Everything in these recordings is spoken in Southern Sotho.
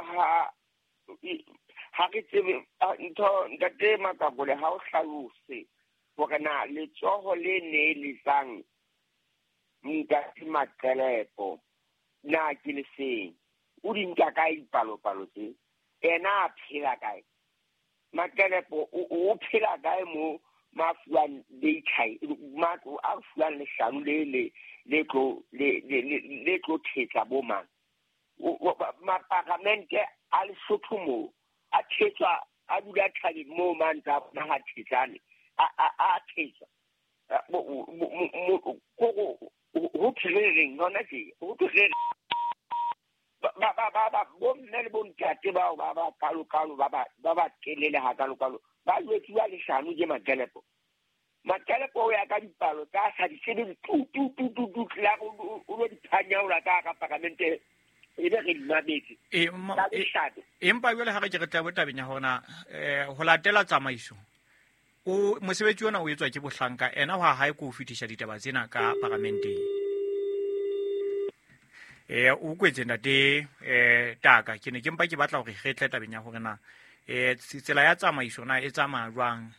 Ha ha re tsebe ntho ntate Makakole ha o hlalose hore na letsoho le neeletsang ntate Maqelepo na ke le feng. O di nka kae dipalopalo tse? Ena a phela kae? Maqelepo o phela kae mo mafuang data matlo a fuang leshano le le tlo le tlo thetsa bo mang? Maparamente a Lesotho moo a thetswa, a dula thabeng moo mang tsa bona ha thetsane a thetswa ho thwe hona tje ho thwe ba ba ba ba bomme le bontate bao ba ba kalokalo ba ba telele ha kalokalo ba jwetsiwa leshano ke Maqelepo. Maqelepo o ya ka dipalo tsa sa di tsebe tu tu tu tu tu la o lo di phanyaola ka ka paramente e be re di mametse empa jwale ha re ke re tla tabeng ya hona ho latela tsamaiso o mosebetsi ona o etswa ke bohlanka ena ha hae ko fetisa ditaba tsena ka paramenteng. O kwetse ntate Taka ke ne ke mpa ke batla hore re tle tabeng ya hore na tsela ya tsamaiso na e tsamaya jwang,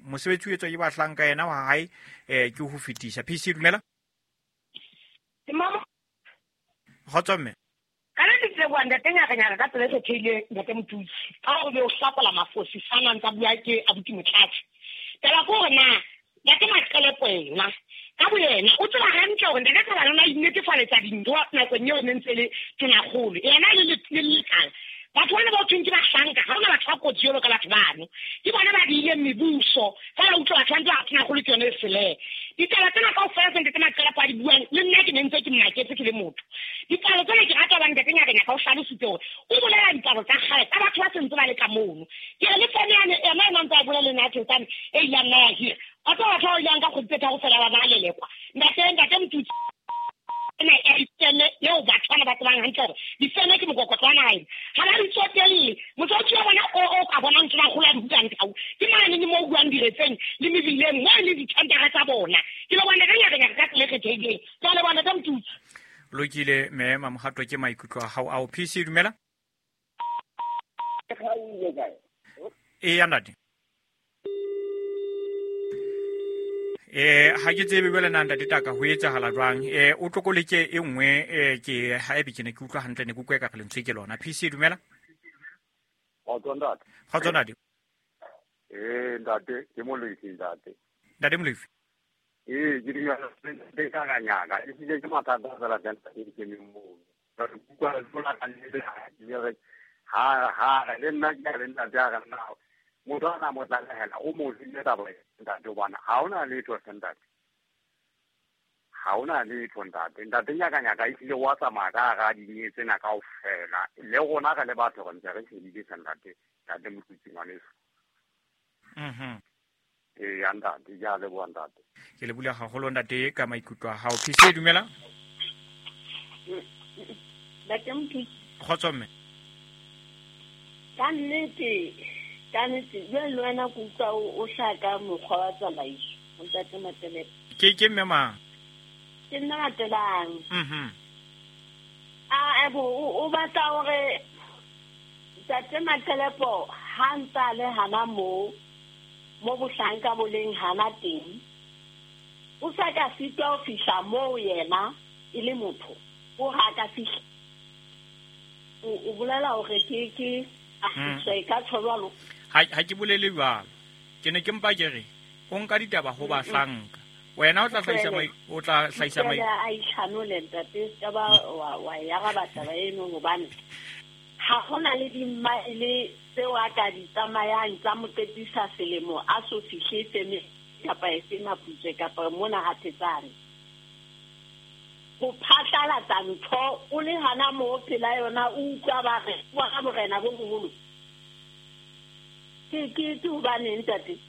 mosebetsi o etswa ke bahlanka ena wa hae ke ho fetisa. PC dumela. Kgotso mme. Ka le letseboa ntate Nyakanyaka ka tsela e kgethehileng ntate Motutsi ka hore o be o hlakola mafosi sana ntsa bua ke abuti Motlatsi. Taba ke hore na ntate Maqelepo ena ka boyena o tseba hantle hore ntate Thabane o na inetefaletsa dintho nakong eo ne ntse le tonakgolo yena le lekala. Batho bana ba o thweng ke bahlanka, ha hona batho ba kotsi jwalo ka batho bano. Ke bona ba diileng mebuso, fela utlwa batho ba ntse ba tonakgolo ke yone e sele. Ditaba tsena kaofela tse ntate Maqelepo a di buang, le nna ke ne ntse ke mmaketse ke le motho. Dipalo tsena ke rata hobane ntate Nyakanyaka o hlalositse hore o bolela dipalo tsa kgale tsa batho ba sentse ba le ka mono. Ke re le feme yane ena ena ntse a bolela le nna Thetsane e ileng nna ya hira. Wa tseba batho ba ileng ka kgwedi tse tharo fela ba ba lelekwa. Ntate Motutsi ena ya difeme eo batho bana ba tsebang hantle hore difeme ke mokokotlo wa naha ena. Ha ba di tsotelle. Mosebetsi wa bona o ka bonang tonakgolo a di bukang tau ke mane le moo buang diretseng le mebileng moo e leng dithendara tsa bona. Ke leboha ntate Nyakanyaka ka tsela e kgethehileng. Ke a leboha ntate Motutsi. Lokile mme Mamohato ke maikutlo a hao ao. PC dumela. Eya ntate. Ha ke tsebe jwale na ntate Taka ho etsahala jwang. O tlokoleke e nngwe ke haebe ke ne ke utlwa hantle ne ke utlwa ekare lentswe ke lona. PC dumela. Kgotso ntate. Kgotso ntate. Ntate ke Molefi ntate. Ntate Molefi. Ke dumela ntate Nyakanyaka e hlile ke mathata fela ka ntate ke kemeng mono. Re utlwa re tlola ka nnete ha ha re le nna ke le ntate a re nna motho a na mo tlalehela o mo file taba ntate hobane ha hona letho ntate. Ha hona letho ntate. Ntate Nyakanyaka e hlile wa tsamaya ka hara dinyewe tsena kaofela. Le rona re le batho re ntse re shebile ntate, ntate Motutsi ngwaneso. Ya ntate, ke a leboha ntate. Ke le bula haholo ntate ka maikutlo a hao. PC dumela. Ntate Motutsi. Kgotso mme. Ka nnete, jwale le wena ke utlwa o hlaka mokgwa wa tsamaiso, ntate Maqelepo. Ke mme mang? Ke nna Matelang. O batla hore ntate Maqelepo ha ntsa le hana moo mo bohlanka bo leng hana teng, o sa ka sitwa ho fihla moo yena e le motho, o ha ka fihla. O bolela hore ke se ka tjho jwalo. Ha ke bolele jwalo. Ke ne ke mpa ke re o nka ditaba ho bahlanka. Wena o tla hlahisa a itlhanole ntate, ka ba wa ya ga taba eno hobane ha hona le dimaele tseo a ka di tsamayang tsa mo qetisa selemo a so fihle feme kapa efe Maputswe kapa mona ha Thetsane. Ho phatlalatsa ntho o le hana moo pela yona o utlwa ba re wa morena bo boholo. Ke hobane ntate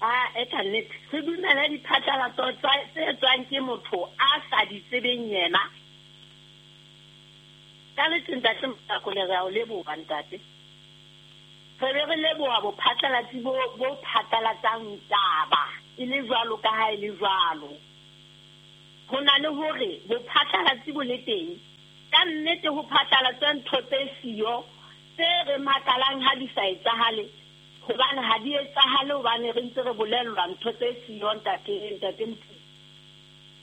a e ka nnete re dumele diphatlalatso tse tswang ke motho a sa di tsebeng yena. Ka nnete ntate Mosakole re a o leboha ntate. Re be re leboha bophatlalatsi bo phatlalatsang taba e le jwalo ka ha e le jwalo. Ho na le hore bophatlalatsi bo le teng ka Ka nnete ho phatlalatsa ntho tse siyo tse re makalang ha di sa etsahale, hobane ha di etsahale hobane re ntse re bolellwa ntho tse siyo ntate Mothusi.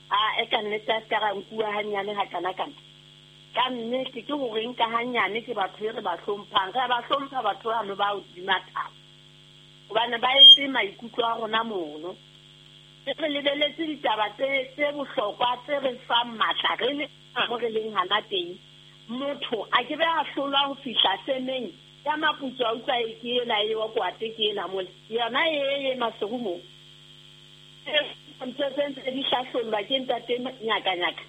A e ka nnete a ska ra nkuwa hanyane ha kana kana. Ka nnete ke hore nka hanyane ke batho e re ba hlomphang, re ba hlompha batho bano ba hodima thaba, hobane ba etse maikutlo a rona mono. Re lebeletse ditaba tse bohlokwa tse re fang matla re le mo re leng hana teng. Motho a ke be a hlolwa ho fihla semeng ya maputso a utlwa e ke ena e wa kwate ke ena mole yona e Maseru mo. Ntho tse ntse di hlahlollwa ke ntate Nyakanyaka.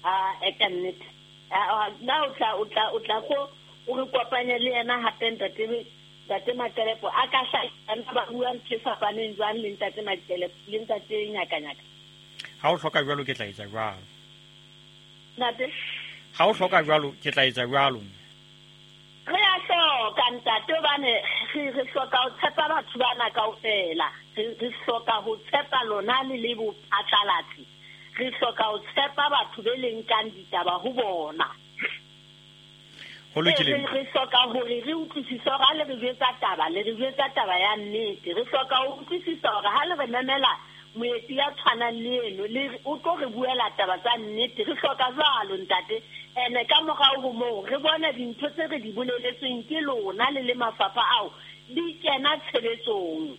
A e ka nnete. Na o tla go o re kopanye le yena hape ntate Maqelepo a ka hlahisa ba bua ntho e fapaneng jwang le ntate Maqelepo le ntate Nyakanyaka. Ha o hloka jwalo ke tla etsa jwalo. Ntate? Ha o hloka jwalo ke tla etsa jwalo. Re a hloka ntate hobane re hloka ho tshepa batho bana kaofela. Re hloka ho tshepa lona le le bophatlalatsi. Re hloka ho tshepa batho be leng kang ditaba ho bona. Ho lokile. Re hloka hore re utlwisise hore ha le re jwetsa taba, le re jwetsa taba ya nnete. Re hloka ho utlwisisa hore ha le re memela moeti ya tshwanang le eno, le o tlo re buela taba tsa nnete. Re hloka jwalo ntate. Ene ka morao ho moo re bona dintho tse re di boleletsweng ke lona le le mafapha ao di kena tshebetsong.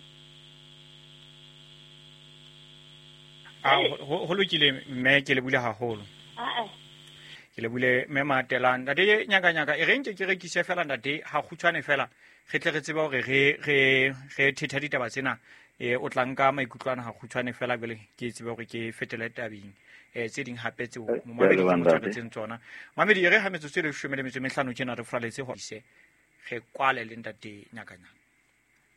Ho lokile mme ke le bule haholo. Ke le bule mme Matelang. Ntate Nyakanyaka e re nke ke rekise fela ntate ha kgutshwane fela re tle re tsebe hore re thetha ditaba tsena. O tla nka maikutlo ana ha kgutshwane fela jwale ke tsebe hore ke fetele tabeng tse ding hape tseo momamedi ke motshwaretseng tsona. Mamedi e re ha metsotso e 15 tjena re fraletse ho ise re kwale le ntate Nyakanyaka.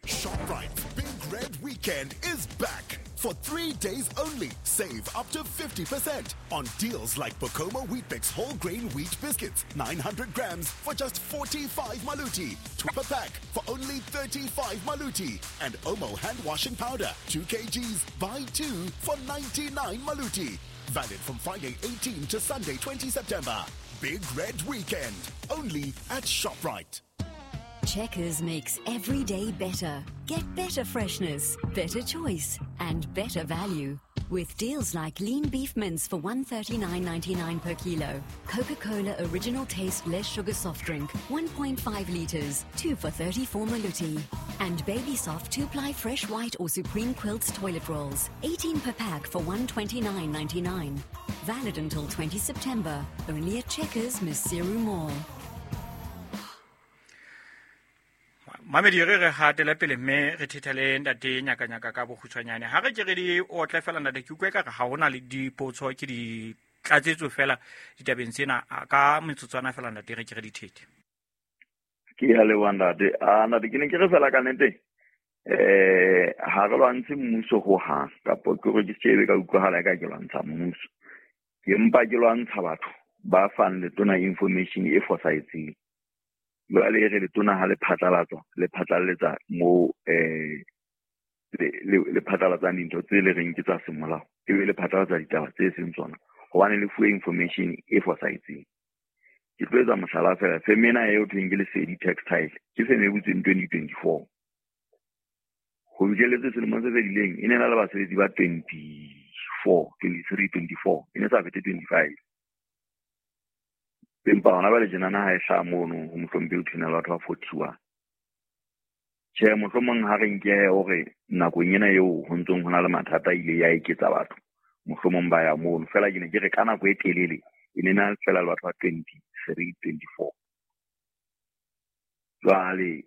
ShopRite's Big Red Weekend is back. For 3 days only, save up to 50% on deals like Bokoma Weet-Bix whole grain wheat biscuits, 900 grams for just 45 maluti, 2 per pack for only 35 maluti, and Omo hand washing powder, 2 kgs, buy 2 for 99 maluti. Valid from Friday 18 to Sunday 20 September. Big Red Weekend, only at ShopRite. Checkers makes every day better. Get better freshness, better choice, and better value. With deals like lean beef mince for $139.99 per kilo, Coca-Cola original taste less sugar soft drink, 1.5 litres, 2 for 34 maluti. And Baby Soft 2-ply fresh white or Supreme Quilts toilet rolls, 18 per pack for $129.99. Valid until 20 September, only at Checkers, Maseru Mall. Mamedi re hatele pele mme re thethele ntate Nyakanyaka ka bokgutshwanyane. Ha re ke re di otle fela ntate ke utlwe ka re ha hona le dipotso ke di tlatsetso fela ditabeng tsena ka metsotswana fela ntate re ke re di thethe. Ke ya leboha ntate. Ntate ke ne ke re fela ka nnete ha re lwantshe mmuso ho hang kapo ke hore ke shebe ka utlwahala ka ke lwantsha mmuso. Ke mpa ke lwantsha batho ba fang letona information e fosahetseng. Jwale e re letona ha le phatlalatsa le phatlaletsa mo le phatlalatsang dintho tse le reng ke tsa semolao, ebe le phatlalatsa ditaba tse seng tsona hobane le fuwe information e fosahetseng. Ke tlo etsa mohlala fela, feme ena eo thweng ke Lesedi Textile ke feme e butsweng 2024. Ho fihlelletse selemong se fedileng e ne na le basebetsi ba 24, 23, 24, e ne sa fete 25. Empa hona jwale tjenana ha e hlaha mono ho mohlomphehi o thwena le batho ba 41. Tjhe, mohlomong ha re nke hore nakong ena eo ho ntsong ho na le mathata ile ya eketsa batho, mohlomong ba ya mono. Feela ke ne ke re ka nako e telele e ne na fela le batho ba 23, 24. Jwale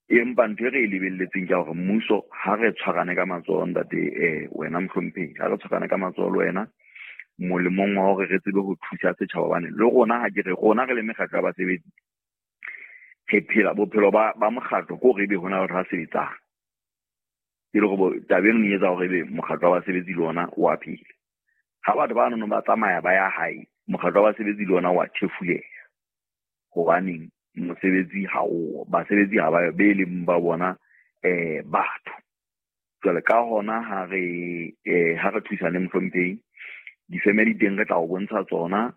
empa ntho e re e lebelletseng ke hore mmuso ha re tshwarane ka matsoho ntate wena mohlomphehi, ha re tshwarane ka matsoho le wena molemong wa hore re tsebe ho thusa setjhaba hobane le rona ha ke re rona re le mekgatlo ya basebetsi re phela bophelo ba mokgatlo ke hore ebe hona batho ba sebetsang, e le hore taba eno e etsa hore ebe mokgatlo wa basebetsi le ona o a phela. Ha batho ba nono ba tsamaya ba ya hae, mokgatlo wa basebetsi le ona wa thefuleha hobaneng mosebetsi ha o basebetsi ha ba be leng ba bona batho. Jwale ka hona ha re thusane mohlomphehi, difeme di teng re tla o bontsha tsona